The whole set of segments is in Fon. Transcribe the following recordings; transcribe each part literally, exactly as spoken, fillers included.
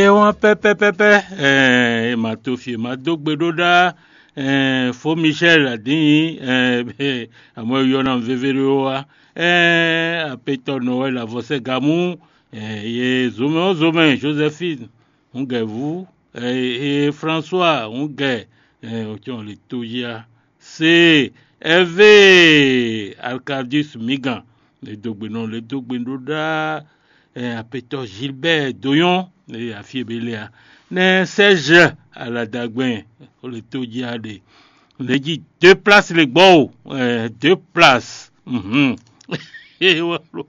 É wá pɛ́pɛ́pɛ́pɛ́, ɛɛ, è ma to fí, è ma dó gbe ɖó ɖá, ɛɛ, fó Michel Adin, ɛɛ, àmọ́ è yɔ ná vévé ɖó wá, ɛɛ, apetɔ Noël Avɔsɛgamú, ɛɛ, ye zomɛ ɔ́ zomɛ Joséphine, un gɛ vú, ɛɛ, ye François, un gɛ, ɛɛ, o tɔn le tó yá. Se Hervé Arcadius Migan, le dó gbe nɔ, le dó gbe ɖó ɖá, ɛɛ, apetɔ Gilbert Doyon, le afí e be le a, nɛ Serge Aladagbɛn, o le tó jí a ɖe, le jí deux places le gbɔ o, ɛɛ, deux places. Mhm. Ee, wá lo.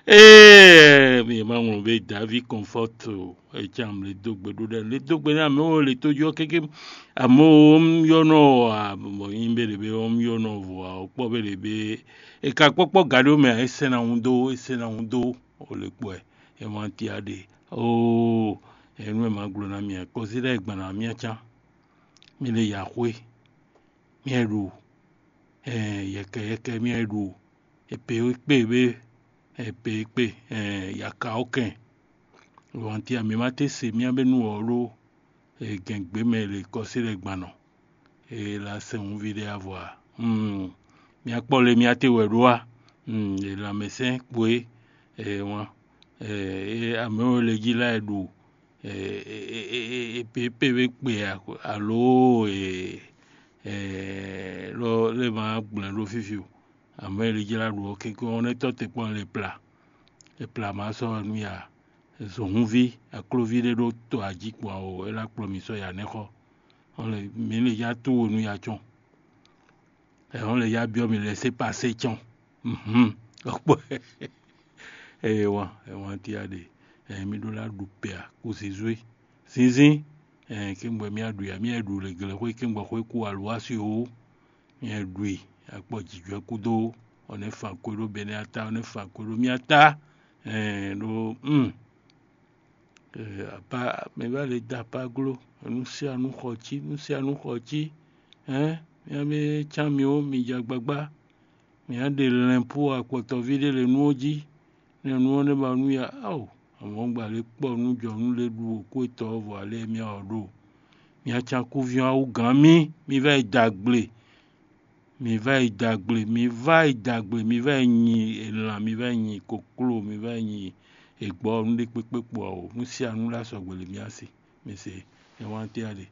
Ee, mi ma ŋlɔ be David Comfort o, e can le dó gbe ɖó ɖɛ, le dó gbe nɛ amɛ wo le tó jí ɔ kéké. Amɔ wo un yɔ nɔ a, bɔ nyi be le be un yɔ nɔ vɔ a, o kpɔ be le be e ka kpɔkpɔ ga ɖo mɛ a, e sɛn na un dó, e sɛn na un dó, o le kpɔ ɛ, e ma ti a ɖe. Oo, enu e ma gblɔ na mi a, kɔsi ɖe gban na mi a can. Mi le ya xwe, mi e ɖu, ɛɛ, yɛkɛ yɛkɛ mi e ɖu, e pe e kpe be, e pe e kpe, ɛɛ, yaka ɔ kɛn. Wanti a mi ma te se mi a be nu ɔ ɖo, e gɛn gbe mɛ le kɔsi ɖe gban nɔ. E la sɛn ŋuvi ɖe avɔ a? Hmm. Mi a kpɔ le mi a te wɛ ɖo a? Hmm. E lanmɛsɛn kpo e, e wan, e, e amɛ wo le jí la e ɖu, e, e, e, e, e pe pe be kpe a, alo e, e, lɔ le ma gblɛ ɖo fifi o. Amɛ le jla ɖu ɔ kékun ɔ́, nɛ́ tɔ́ te kpɔ́n le pla. E pla ma sɔ́ nu ya. Zɔ̌nhúnví, akloví ɖé ɖó to ají kpɔn awo, é ná kplɔ́n mì sɔ́ ya nɛ́ xɔ. Ɔ́n lɛ mǐ lè yá tó wo nú ya cɔn. Ɛ ɔ́n lɛ yá byɔ́ mì lɛ sé pasé cɔn. Mhm. Ɔkpɔ. Eye wan, ɛ wan tí a ɖe. Ɛ mi ɖó lá ɖu pɛ a, kú zizwé. Zinzín. Ɛ kí gbɔ mì aɖu ya, mì aɖu le glɛ́ xwé kí gbɔ xwé kú alwá si o. Mì aɖu i, akpɔ jǐjɔ́ kúdó, ɔ́ nɛ́ fan kwé ɖó bɛnɛ ata, ɔ́ nɛ́ fan kwé ɖó mì ata. Ɛɛ ɖó. Hmm. Apa mɛ va le da apa gló, nú sia nú xɔ cí, nú sia nú xɔ cí. Hɛn, mía mɛ cán mi ó, mi ja gbagbá. Mǐ á ɖe lɛ̌npú akpɔtɔví ɖé le nú ɔ́ jí, nɛ́ nú ɔ́ nɛ́ ba nú ya. Ao, amɔ̌ gbǎ lě kpɔ nú jɔ̌nú lě ɖu wǒ kú etɔ́ ɔ́ vɔ alɛ mía ɔ́ ɖo. Mǐ acánkúví ɔ́ á wú gǎn mì, mi vá yi da gble. Mi vá yi da gble, mi vá yi da gble, mi vá yi nyi elǎn, mi vá yi nyi kokló, mi vá yi nyi egbɔ́, nú ɖé kpékpé kpo ǎ o. Nú sia nú lá sɔgbe le mía se. Mi se, ɛ wán té a ɖe.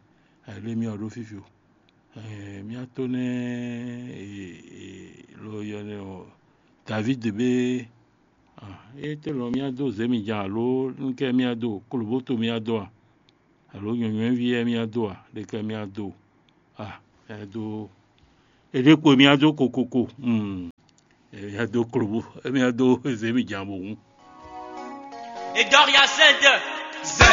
Ayǐ lé mía ɔ́ ɖó fífi o. Ɛɛ, mía tó nɛ́ e, e, lo yɔ nɛ ɔ, David be, ah, e te lɔ mía dó zé mi jan alo nukɛ mía dó, koloboto mía dó a, alo nyɔ̌nyɔ́ví yɛ mía dó a, ɖekɛ mía dó a, ɛ dó, e ɖe kpo mía dó kokoko, hmm, e mía dó kolobo, e mía dó zé mi jan bo hun. Edoria Z. Z.